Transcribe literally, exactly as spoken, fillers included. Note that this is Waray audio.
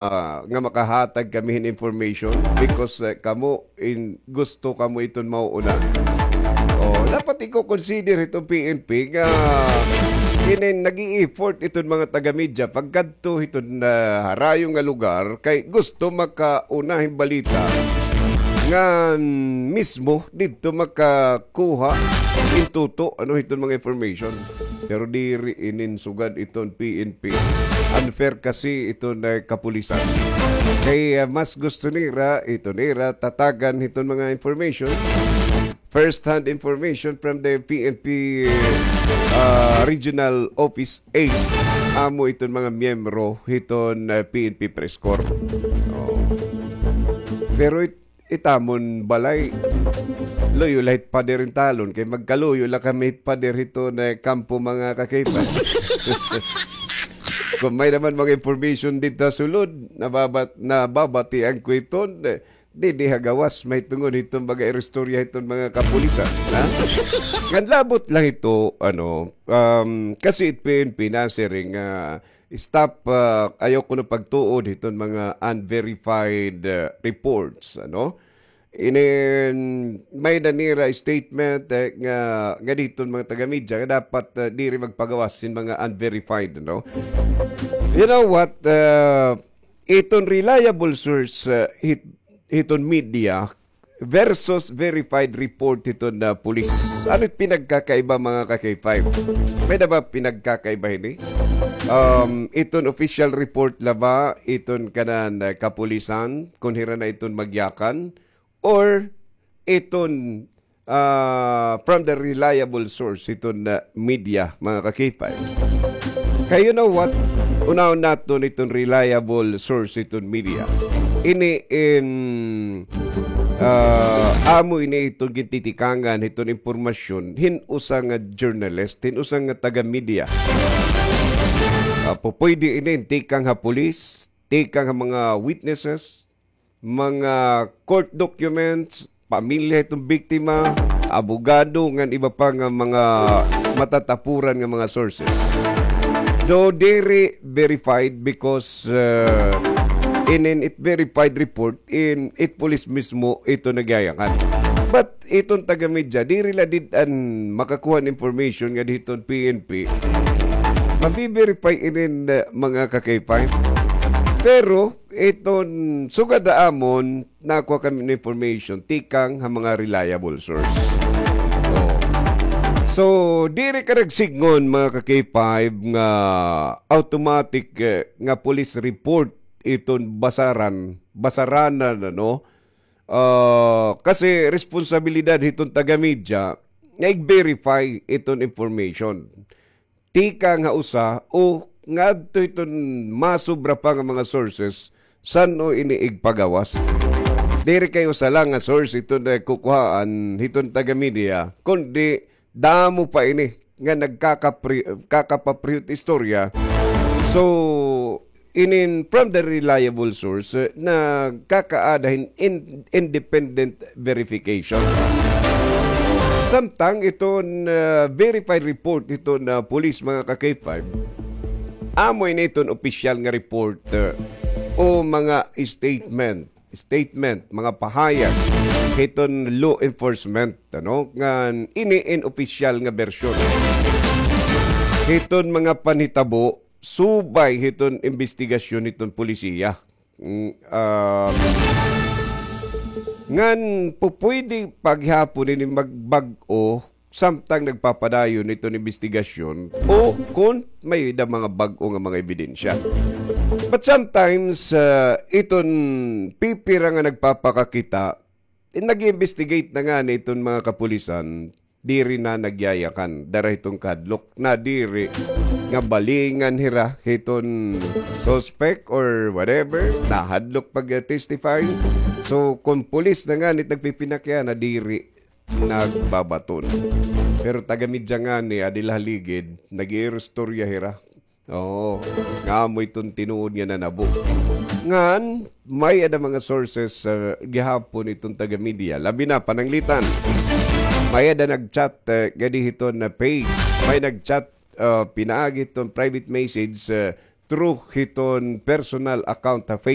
ah, nga makahatag kami hin information because, eh, kamo in, gusto kamo iton mauuna. Oh, dapat iko-consider hiton P N P nga inin nag-i-effort iton mga taga-media pagkadto hiton, ah, harayo nga lugar kay gusto makauna hin balita nga mismo didto makakuha in tuto, ano, hiton mga information. Pero diri inin sugad iton P N P. Unfair kasi iton, eh, kapulisan. Kay, ah, mas gusto nira, ito nira, tatagan hiton mga information. First-hand information from the P N P, ah, Regional Office eight. Amo iton mga miyembro hiton, ah, P N P Press Corps. Oh. Pero it-, it amon balay, luyo la hit pader in talon, kay magkaluyo la kami hit pader hiton kampo, mga ka-K five. Kon may-ada man mga information didto ha sulod, nababat-, nababatian ko hiton, eh, didi ha gawas, mahitungod hiton mga iristorya hiton mga kapulisan, ha? Ngan labot la hito, ano, um, kasi it P N P nasiring nga stop, ah, ayaw kuno pagtuod hiton mga unverified, ah, reports, ano? Inin, may-ada nira statement, eh, nga, nga didto mga taga-media nga dapat, ah, diri magpagawas hin mga unverified, no? You know what? Ah, iton reliable source, ah, hit-, hiton media versus verified report hiton, ah, pulis. Ano it pinagkakaiba, mga ka-K five? May-ada ba pinagkakaiba hini? Um, iton official report la ba, iton kanan, ah, kapulisan, kon hira na iton magyakan, or iton, ah, from the reliable source, iton, ah, media, mga ka-K five? Kay you know what? Unahon naton iton reliable source, iton media. Ini in, ah, amo ini iton gintitikangan hiton impormasyon hin usa nga journalist, hin usa nga taga-media. Ah, pupwede ini tikang ha pulis, tikang ha mga witnesses, mga court documents, pamilya hiton biktima, abogado, ngan iba pa nga mga matatapuran nga mga sources. Though diri verified because, uh, inin it verified report, in it police mismo ito nagyayakan. But iton taga-media, diri la did-an makakuha hin information nga didto ha P N P. Mabi-verify inin, uh, mga ka-K five. Pero iton sugad ha amon, nakuha kami hin information tikang ha mga reliable source. Oh. So, diri ka nagsidngon, mga ka-K five, nga automatic, eh, nga police report iton basaran, basaranan, ano? Ah, kasi responsibilidad hiton taga-media nga i-verify iton information tikang ha usa o ngadto hiton masobra pa nga mga sources san-o ini igpagawas. Diri kay usa la nga source iton kukuhaan hiton taga-media, kundi damo pa ini nga nagkakapri-, kakapaprihot istorya. So, inin from the reliable source, eh, nagkakaada hin in-, independent verification. Samtang iton, ah, verified report hiton police, mga ka-K five, amo ini iton opisyal nga report, eh, o mga statement, statement, mga pahayag hiton law enforcement, ano, ngan ini in opisyal nga bersyon hiton mga panhitabo subay hiton imbestigasyon hiton polisiya. Mm, ah, ngan pupwede pa gihapon ini magbag-o samtang nagpapadayon iton imbestigasyon o kon may-ada mga bag-o nga mga ebidensya. But sometimes, ah, iton pipira nga nagpapakakita, eh, nag-iimbestigate na ngani iton mga kapulisan, diri na nagyayakan. Dara hiton kahadlok, nadiri nga balingan hira hiton suspect or whatever, nahadlok pag-testify. So, kon pulis na ngani it nagpipinakya, nadiri nagbabaton. Pero taga-media ngani, adi la ha ligid, nag-iiristorya hira. Oo, nga amo iton tinuod nga nanabo. Ngan, may-ada mga sources, ah, gihapon iton taga-media. Labi na, pananglitan. May-ada nag-chat, eh, gadi hiton nga page. May nag-chat, ah, pinaagi hiton private message, eh, through hiton personal account ha Facebook.